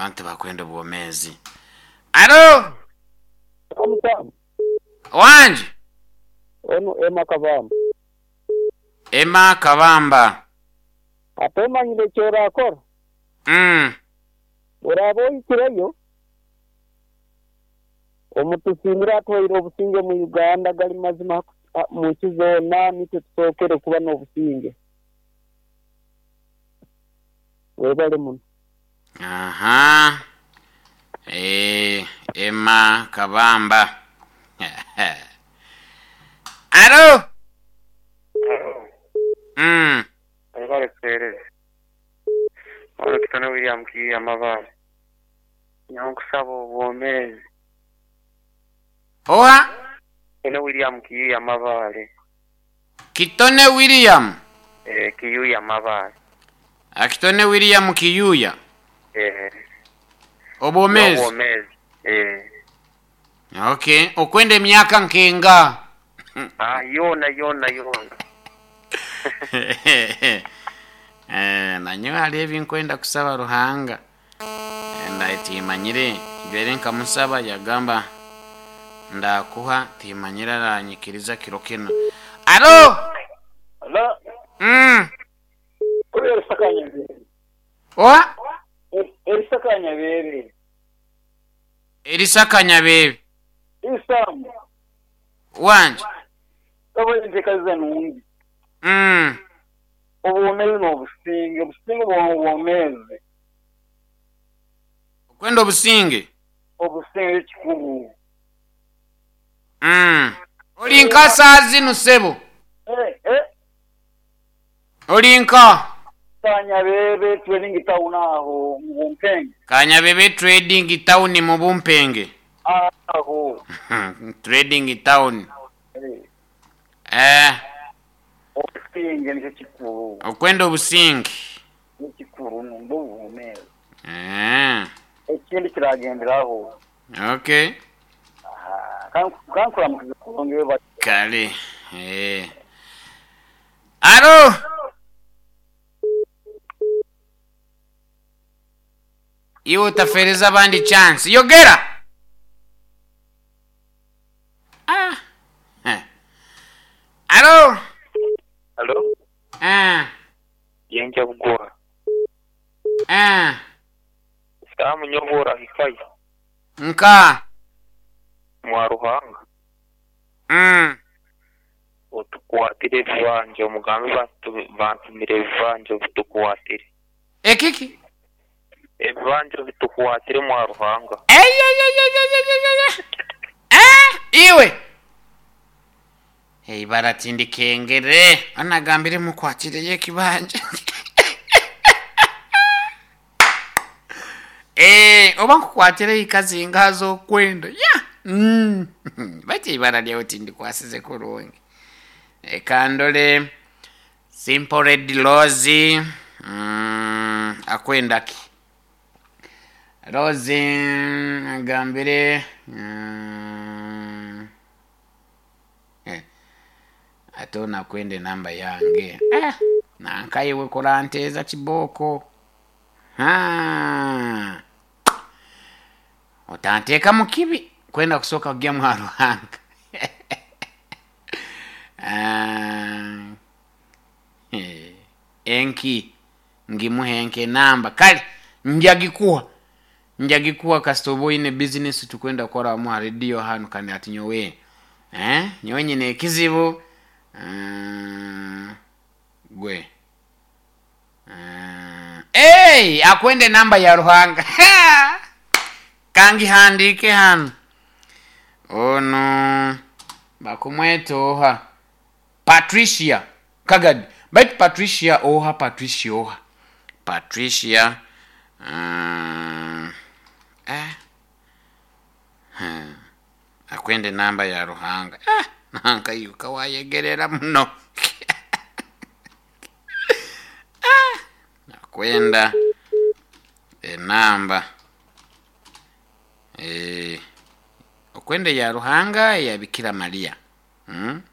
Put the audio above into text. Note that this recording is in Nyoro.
Abantu bakwenda obwomeezi. Alo! Omusamu. Wangi? Onu Emma Kabamba. Emma Kabamba. Ate omanyire eki oraakora? Oraaba ohikireyo, omutusiimire atuhaire obusinge omu Uganda gali mazima mu nsi zoona nitwe tusookere kuba n'obusinge. Webale muno. Aha. Eh, Emma Kabamba. Alo! Halo. Webale kuheereza. Ono Kitone William Kiiya Mabaale. Nyowe nkusaba obwomeezi. Oha? Kitone William Kiiya Mabaale. Kitone William. Eh, Kiyuya Mabaale. Ah, Kitone William Kiyuya. Eh. Obwomeezi. Obwomeezi. Eh. Okay, okwenda emyaka nkenga? Ah, yoona yoona yoona. Eh, nanyowe hariho ebi nkwenda kusaba Ruhanga. Ndaye timanyire, njwaire nkamusaba yagamba ndakuha, timanyire aranyikiriza kiro kinu. Alo! Alo. Oyo Erisa Kanyabebe. Oha? Erisa Kanyabebe. Erisa Kanyabebe. Isamu. Wangi. Oba enteekaniza nungi. Obwomeezi n'obusinge, obusinge bwonka obwomeezi. Okwenda obusinge? Obusinge kikuru. Oli nka saaha zinu sebo? Eh, eh. Oli nka? Kanyabebe Trading Town aho mu Bumpenge. Kanyabebe Trading Town mu Bumpenge. Aho. Trading Town. Eh. Eh. Obusinge nikyo kikuru. Okwenda obusinge. Nikikuru nibwo obwomeezi. Eh. Ekindi kiragenderaho. Okay. Aha, kankuramukize kurungi webale. Kale. Eh. Alo! Iwe otafereza abandi chance. Yogera! Ah. Eh. Alo! Alo? Ah. Yenja Bugwa. Ah. Saamu nyowe orahikayo. Nka. Mwa Ruhanga. Otukwatire ebibanja omugambe bantumire ebibanja obitukwatire. Ekiki? Ebibanja obitukwatire mwa Ruhanga. Eyeyeyeyeyeyeye. Eh, iwe. Eibara tindikengere. Anagambire mukwatireyo ekibanja. Eh, oba nkukwatireyo ikazinga z'okwenda. Ya. Bati eibara lyawe tindikwasize kurungi. Ekandole Simple Red Rose. Akwenda ki? Rose agambire ate onakwenda enamba yange. Nankaiwe kuranteeza kibooko. Ha. Otanteeka mu kibi kwenda kusooka kugya mwa Ruhanga. Ah. Enki ngimuhe enke namba kale njagikuha njagikuha kasita oba oine bizinesi tukwenda kukora wamu ha rediyo hanu kandi ati nyowe nyowe nyine ekizibu gwe hey, akwenda enamba ya Ruhanga. Kangihandiike hanu ono bakumweta oha Patricia Kagadi baitu Patricia oha Patricia oha Patricia akwenda enamba ya Ruhanga. Nankayuka wayegerera muno. Akwenda enamba okwenda ya Ruhanga ya Bikira Maria.